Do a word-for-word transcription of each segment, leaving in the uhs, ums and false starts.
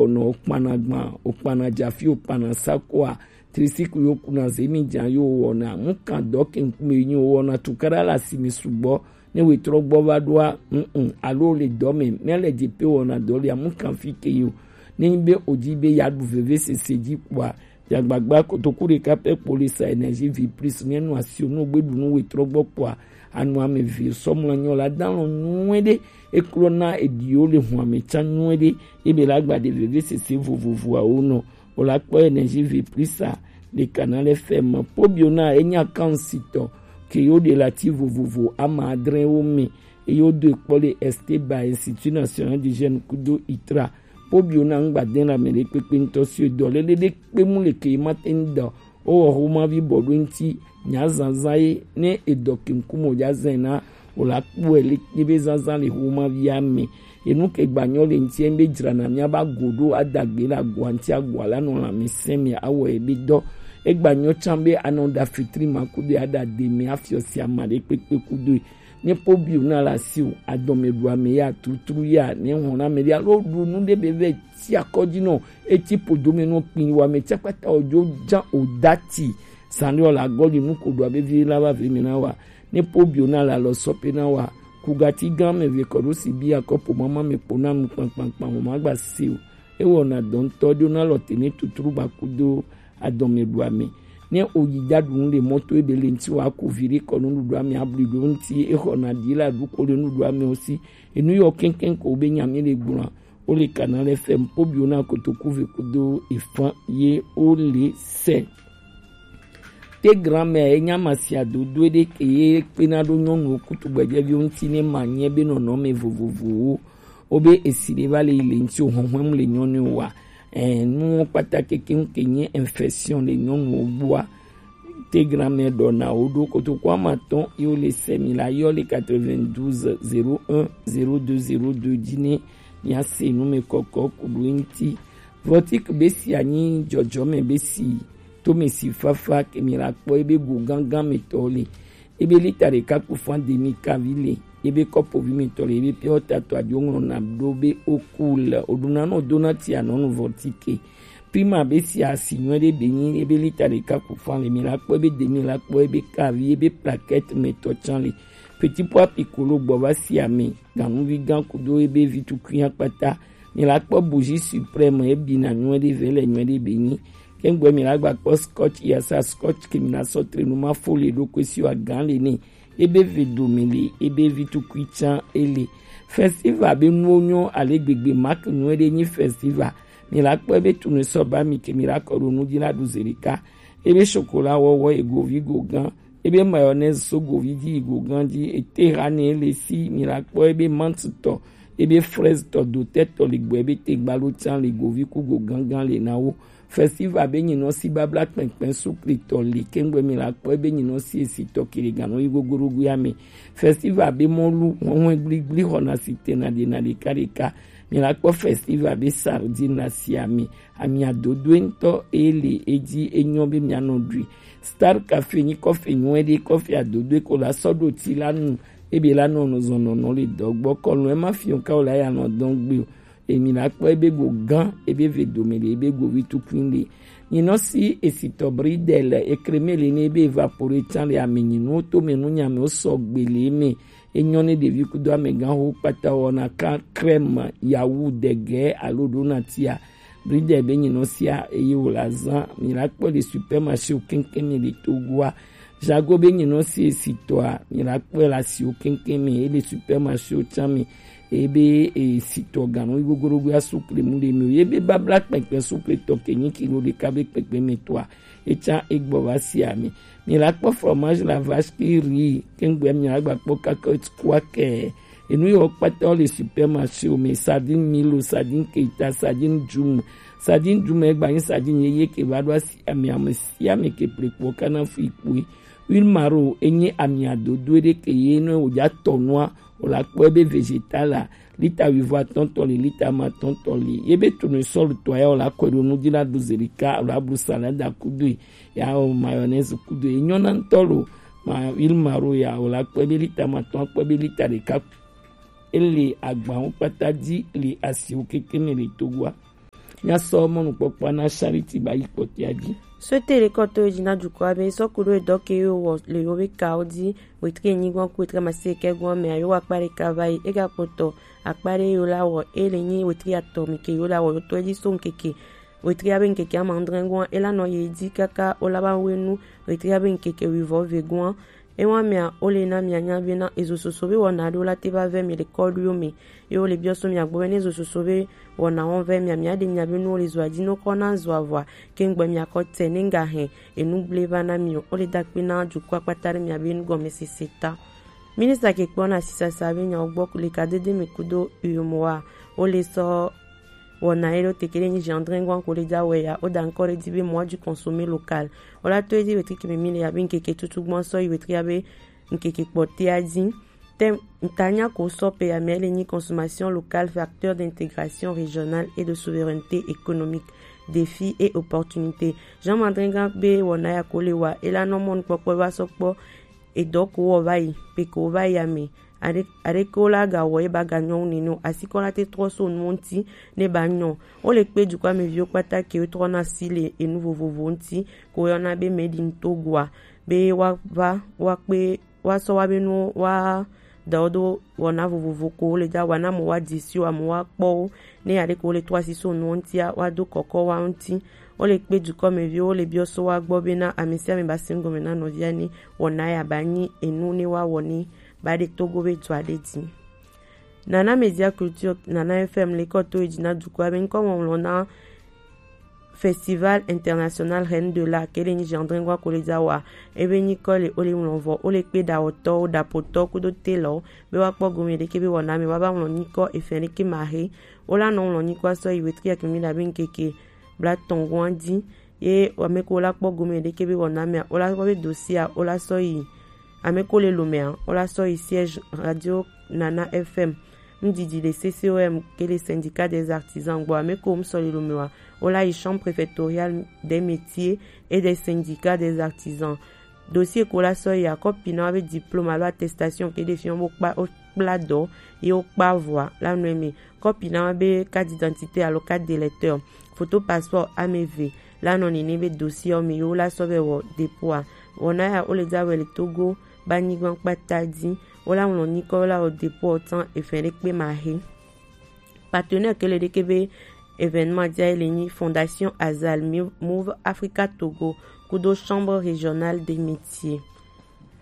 wɔnɔ, okpana gban, okpana jafi, okpana sakoa, tricycle yo kuna zemi jan yo wɔna, mukan dɔ ke ŋkume nyi wɔna tukara la simi sugbɔ, ne wetrɔ gbɔ va ɖoa, mm, alo le dɔ me, mele dze pe wɔna dɔ le amukan fi ke yo. Ne nyi be odi be ya ɖu veve sese dzi kpoa, ya gbagba kotoku ɖeka pɛ kpo le sa Energie Vie Plus, ne nu asi o, nu gbe ɖu nu wetrɔ gbɔ kpoa, anu ame vi sɔmlɔ nyɔ la dan lɔ nyuie ɖe, eklɔ na ediwo le hu ame tsa nyuie ɖe, ebe la gba ɖe veve sese vovovoawo nɔ. O la kpɔ Energie Vie Plus a le Canal F M. Pobio na enya kan sitɔ ke yo ɖe la ti vovovo ama adre wo me, eye wodo ekpɔ le Esteba, Institut National du Jeune kudo itra. Pobio na ŋgba de la me ɖe kpekpe ŋutɔ si dɔ lele ɖe kpe mu le ke ma te ŋdɔ. O wɔ homa vi bɔ ɖo ŋti nya zanzan ye ne edɔ ke ŋkume o ja zan na o la kpɔe le kpe be zanzan le homa via me. Enu ke gbanyɔ le ŋti be dzrana mia ba go ɖo adagbe la go ŋti agua la nɔ la me sɛn me awɔ ebe dɔ. Egbanyɔ tsan be anɔ da fitri ma kudo ada de me afiɔ si ama ɖe kpekpe kudo. Ne pobio na la si o, adɔme ɖu ame ya tutru ya, ne hɔn na me ya lo ɖu nu ɖe be ve ti akɔdzi nɔ, eti podo me nɔ kpin wa me tsakpata ojo jan o dati. Sani o la gɔli nu ko ɖu abe vi la va ve me na wa. Ne pobio na la lɔ sɔ pe na wa. Kugati gan me ve kɔ ɖo si bi akɔ po mama me po na nu kpankpankpan o ma gba si o. Ewɔna dɔ ŋutɔ ɖo na lɔ te ne tutru ba kudo adɔme ɖu ame. Ne oyi ja ɖu nu le mɔto ebe le ŋti wa ko vi ɖe kɔ nuɖuɖu ame abli ɖo ŋti exɔna ɖi la ɖu ko le nuɖuɖu ame o si. Enu yɔ kɛnkɛn ko be nya mi le gblɔa. O le Canal F M pobio na kotoku ve kudo efan ye o le sɛ. Te grand-mère enya masia dodo ɖe ke ye kpena ɖo nyɔnuwo kutu gbɛjɛviwo ŋti ne ma nye be nɔnɔme vovovowo. Wobe esi ɖe va le yi le ŋti o hɔnhɔn mu le nyɔnu wa. Eh, nuwo kpata keke ŋke nye infection le nyɔnuwo gbɔa. Te grand-mère ɖɔ na wo ɖo kotoku ama tɔn yo le sɛ mi la yɔ le quatre-vingt-douze zéro un zéro deux zéro deux dzi ne mia se nu me kɔkɔ ku ɖo ŋti. Vɔtik be si anyi dzɔdzɔme be si tome si fafa ke mi la kpɔ ebe go gangan me tɔ le. Ebe lita ɖeka ku fan demi kavi le, ebe kɔpovi mitɔ le, ebe pure water tɔ aɖi woŋlɔ na ɖo be oku le, oɖuna nɔ dona ti anɔnu vɔtike. Prima be si asi nyuie ɖe be nyi, ebe lita ɖeka ku fan le, mi la kpɔ ebe demi la kpɔ ebe kavi, ebe plaquette me tɔ tsan le. Petit pois piccolo gbɔ va si ame, ganuvi gan kudo ebe vi tukui akpata. Mi la kpɔ bougie suprême, ebina nyuie ɖe ve le nyuie ɖe be nyi. Kengbe mi la gba kpɔ scotch, yasa scotch ke mi la sɔ tre nu ma fo le ɖo kwe si wa gan le ne. Ebe ve do mi le, ebe vi tukui tsan ele. Festival be nuwo nyɔ ale gbegbe, marque nyuie ɖe nyi festival. Mi la kpɔ ebe tunu sɔ ba mi ke mi la kɔ ɖo nu dzi la ɖu ze ɖeka. Ebe chocolat wɔwɔ ego vi go gan. Ebe mayonnaise so govi dzi yi go gan dzi, ete ha ne ele si mi la kpɔ ebe menthe tɔ, ebe fraise tɔ, dotɛ tɔ le gbɔ, ebe tegba lo tsan le govi ku go gangan le na wo. Festival be nyinɔ si babla kpɛnkpɛn sukli tɔ le kengbe mi la kpɔ ebe nyinɔ si esi tɔ kele ganɔ yi gogoɖogo ya me. Festival be mɔlu hɔnhɔn gbligblí xɔna si tena ɖena ɖekaɖeka. Mi la kpɔ festival be sardine la si ame. Amia dodoe ŋutɔ ele edzi enyɔ be mia nɔ ɖui. Star Cafe nyi kɔfe nyuie ɖe, kɔfe adodoe ko la sɔ ɖo ti la nu. Ebe la nɔ nɔ zɔn nɔnɔ le dɔ gbɔ kɔlɔn ema fiɔ ka o la ya nɔ dɔn gbe o. Emi la kpɔ ebe go gan, ebe ve dome le, ebe go vi tukui le. Nyinɔ si esitɔ bridel ekreme le ne ebe evapore tsan le ame nyinu to me nu nyame o sɔ gbe le me. Enyɔ ne ɖevi kudo amegã ho kpata wɔna ka crème yawu dege alo ɖona tia. Bridel be nyinɔ sia eye wo la zan mi la kpɔ le supermarché o keŋkeŋ mi le Togoa. Jago be nyinɔ si esitɔa mi la kpɔ le asiwo keŋkeŋ mi ele supermarché o tsan mi. Ebe esitɔ ganɔ yi gogoɖogo ya sukle mu le mi o. Ye be babla kpɛkpɛ sukle tɔ ke nyi kilo ɖeka be kpɛkpɛ mi tɔa. Etsa egbɔ va si ame. Mi la kpɔ fromage la vache qui rit, kengbe mi la gba kpɔ cacahuète, kwakɛ. Enu yiwo kpata wo le supermarché o me, sardine Milo, sardine Keita, sardine Djoum. Sardine Djoum egba nyi sardine yeye ke va ɖo asi ame, ame sia ame ke ple kpo kana fu ikpoe. Huile maro enyi ami adodo ɖe ke ye ne wo ja tɔ nua, wo la kpɔ ebe végétal la, lita wuivo atɔ̃ tɔ li, lita ma atɔ̃ tɔ li. Ye be tournesol tɔ ya wo la kɔe ɖo nu dzi la ɖu ze ɖeka, wo la blu salade kudo ya o mayonnaise kudo ye nyɔna ŋutɔ lo. Ma huile maro ya wo la kpɔ ebe lita ma atɔ̃, kpɔ ebe lita ɖeka. Ele agbawo kpata dzi le asiwo kekeŋ le Togoa. Míasɔ mɔnukpɔkpɔa na Charity ba yi kpɔtɔa dzi. Sɔte le kɔto yi dzi na dukɔa be sɔku ɖo edɔ ke yo wɔ le yo be kawo dzi, wetri enyigban ku wetri amaseke gwan mea yo wa akpa ɖeka va yi, ega kpɔtɔ akpa ɖe yo la wɔ e le nyi wetri atɔ mi ke yo la wɔ yo tɔ dzi so ŋkeke wetri abe ŋkeke ama adre gwan e la nɔ ye dzi kaka o la ba wenu wetri abe ŋkeke wivɔ ve gwan. Ewa mea, wo le na mia nya be na ezo soso be wɔna ɖo la te va vɛ mi le kɔɖuiwo me. Ye wo le biɔ so mia gbɔ be ne ezo soso be wɔna wɔn vɛ mia, mia ɖe mia be nuwo le zoa dzi no kɔ na zoa vɔa, ke ŋgbɔ mia kɔ te ne ŋga hɛn enu gble va na mi o. Wo le da kpe na dukɔ akpata ɖe mia be nugɔmesese ta. Minista ke kpɔ na sisasa be nyawo gbɔ le kadede me kudo uyomoa, wo le sɔ wɔna ye ɖo teke ɖe nyi gendrin gwan ko le dza wɛ ya, wo da ŋkɔ ɖe dzi be moi du consommer local. Wo la to edzi wetri keme mi le ya be ŋkeke tutu gbɔn sɔ yi wetri ya be ŋkeke kpɔtea dzi. Te ŋtanya ko sɔ pe ya mɛ le nyi consommation locale, facteur d'intégration régionale et de souveraineté économique, défis et opportunités. Jean Mandringa be wɔna ya ko le wa, e la nɔ mɔnukpɔkpɔ wa sɔ kpɔ edɔ ko wɔ va yi, pe ko va yi ame. Aɖe-, aɖeke wo la ga wɔ ye ba ga nyɔ wu nene o. Asi kɔ la te trɔ so nuwo ŋuti ne ba nyɔ. Wo le kpe dukɔa me viwo kpata ke wo trɔ na si le enu vovovo ŋuti ko yɔna be Made in Togo a, be wa va wa kpe wa sɔ wa be nuwo wa da wo do wɔna vovovo ko wo le dza wa na mo wa di si wa mo wa kpɔ wo. Ne aɖeke wo le trɔ asi so nuwo ŋutia wa do kɔkɔ wa ŋuti. Wo le kpe dukɔ me viwo wo le biɔ so wa gbɔ be na ame sia ame ba si ŋgɔme na nɔvia ni wɔna ya ba nyi enu ne wa wɔ ni ba ɖe Togo be dua ɖe dzi. Nana Media Culture, Nana F M le kɔ to edzi na dukɔa be ŋkɔ ŋɔŋlɔ na Festival International Reine de la ke le nyi Gendrin gwa ko le dza wa. Ebe nyikɔ le o le ŋlɔ vɔ, o le kpe ɖawɔtɔwo, ɖapotɔ kudo telɔ be wa kpɔ gome ɖeke be wɔna me wa ba ŋlɔ nyikɔ efɛn ɖeke ma he. O la nɔ ŋlɔ nyikɔ sɔ yi wetri akemi da be ŋkeke blatɔn gwan dzi. Ye ame ko la kpɔ gome ɖeke be wɔna mea, o la kpɔ be dosia, o la sɔ yi. Ame ko le lomea, o la sɔ yi siège Radio Nana F M. Ŋdidi le C C O M ke le syndicat des artisans gbɔ. Ame ko ŋsɔ le lomewa, o la yi chambre préfectorale des métiers et des syndicats des artisans. Dossier ko la sɔ yi akɔpi na wa be diplôme alo attestation ke ɖe fiɔ bo kpa o kpla dɔ ye wo kpa vɔa la nɔ eme. Kɔpi na wa be carte d'identité alo carte d'électeur, photo passeport ame eve la nɔ nene be dossier me yo la sɔ be wɔ dépôt a. Wɔna ya wo le dza wɛ le Togo ba nyigban kpata dzi. Wo la ŋlɔ nyikɔ wo la wɔ dépôt tan efɛn ɖe kpe ma he. Partenaire ke le ɖeke be événement dza le nyi Fondation Azal, Move Africa Togo kudo Chambre Régionale des Métiers.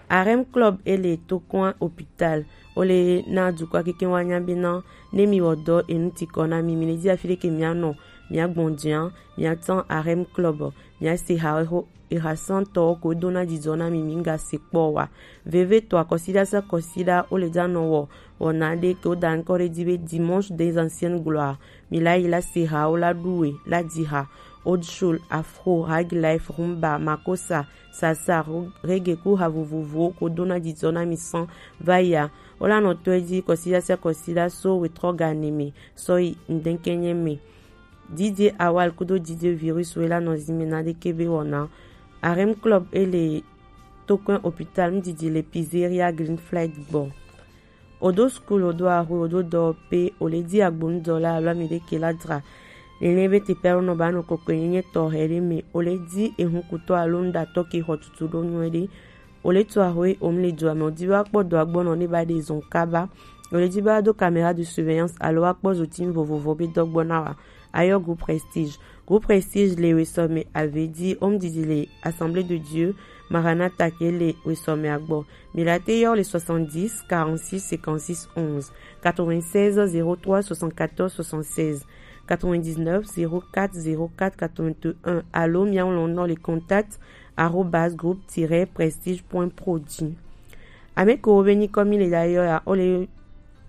Arem Club e le Tokoin Hôpital. O le na dukɔa keke wa nya be na ne mi wɔ dɔ enu ti kɔ na mi, mi le di afi ɖeke mia nɔ, mia gbɔn dia, mia tan Arem Club, mia se ha ho eha santɔ ko do na didɔ na mi, mi nga se kpɔ wa. Veve to akɔsida sa kɔsida o le dza nɔ wɔ, wɔ na ɖe ke o da ŋkɔ ɖe di be Dimanche des Anciennes Gloires. Mi la yi la se ha o la ɖu we la di ha. Old Soul, Afro, Rag Life, Rumba, Makosa, Sasa, ro-, reggae ku ha vovovowo ko do na didɔ na mi san va ya. O la nɔ to edzi kɔsida sa kɔsida so wetrɔ ga ne me sɔ yi ŋdɛnkɛnyɛ me. D J Awal kudo D J Virus we la nɔ zi me na ɖeke be wɔna. Arem Club e le Tokoin Hôpital, ŋdidi le Pizzeria Green Flag gbɔ. Odo school, odo ahwe, odo dɔwɔƒe, o le di agbonudɔla alo ame ɖe ke la dra. Nene be teƒe alo nɔ ba nɔ kɔkɔe nyenye tɔxɛ ɖe me. O le di ehunkutɔ alo nuɖatɔ ke xɔ tutu ɖo nyuie ɖe. O le to ahwe, o mu le dua me, o di be akpɔ dɔa gbɔ nɔ ne ba ɖe zɔn kaba. O le di be ado caméra de surveillance alo akpɔ zotinu vovovo be dɔ gbɔ na wa. Ayɔ Groupe Prestige. Groupe Prestige le wesɔme ave di, home didi le Assemblée de Dieu, Maranatha ke le wesɔme agbɔ. Mi la te yɔ le soixante-dix, quarante-six, cinquante-six, onze, quatre-vingt-seize, zéro trois, soixante-quatorze, soixante-seize, quatre-vingt-dix-neuf, zéro quatre, zéro quatre, quatre-vingt-un, alo mia ŋlɔ nɔ le contact arobase groupe tiret prestige point pro dzi. Ame kewo be nyikɔ mi le la yɔ ya, o le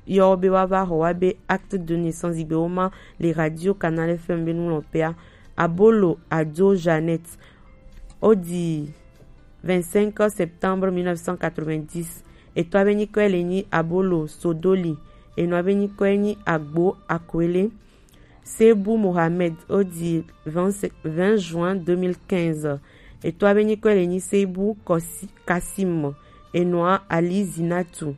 yɔ be wa va xɔ wa be acte de naissance gbe wo ma le Radio Canal F M be nu lɔ pea. Abolo Adzo Jeannette, o di vingt-cinq septembre mille neuf cent quatre-vingt-dix. Etɔ be nyikɔ le nyi Abolo Sodoli. Enɔ be nyikɔ nyi Agbo Akwele. Seibou Mohamed, o di vingt, vingt juin deux mille quinze. Etɔ be nyikɔ le nyi Seibou Kosi-, Kassim. Enɔa Ali Zinatu.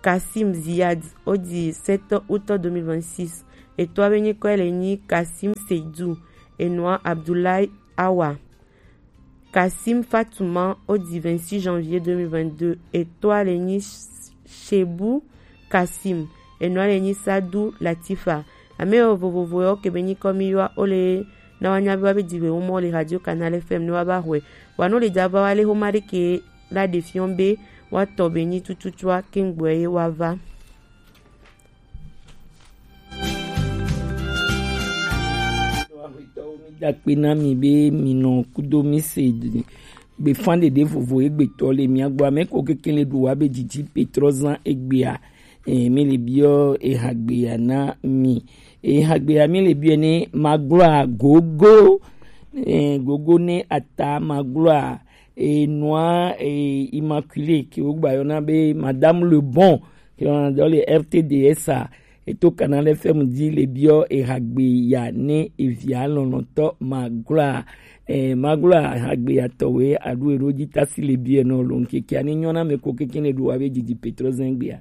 Kassim Ziyad, o di sept août deux mille vingt-six. Etɔa be nyikɔe le nyi Kasim Seydou, enɔa Abdoulaye Awa. Kasim Fatouma, o di vingt-six janvier deux mille vingt-deux, etɔa le nyi Shebu Kasim, enɔa le nyi Sadou Latifa. Ame yo vovovo yo ke be nyikɔ mi yɔa o le na wa nya be wa be di we wo mɔ le Radio Canal F M ne wa ba hwe. Wa no le da va wa le ho ma de ke la de fion be wa tɔ be nyi tututua ke ngbɔ ye wa va. Dakpe na mi be mi nɔ kudo mi se gbefan ɖeɖe vovo egbetɔ le mia gbɔ. Ame ko kekele ɖo wa be didi petrɔ zan egbea. Eh, mi le biɔ ehagbea na mi. Ehagbea mi le biɔ ne magblɔa gogo. Eh, gogo ne ata magblɔa enua, eh, Immaculée ke wogba yɔna be Madame Le Bon, ke wɔna dɔ le R T D S a, eto Canal F M di le biɔ ehagbe ya ne evia lɔlɔtɔ magloa. Eh, magloa hagbe ya tɔwe aɖu eɖo dzi tasi le biɛ nɔ lo ŋkeke ani nyɔna me ko keke ne ɖo wa be didi petro zɛngbea.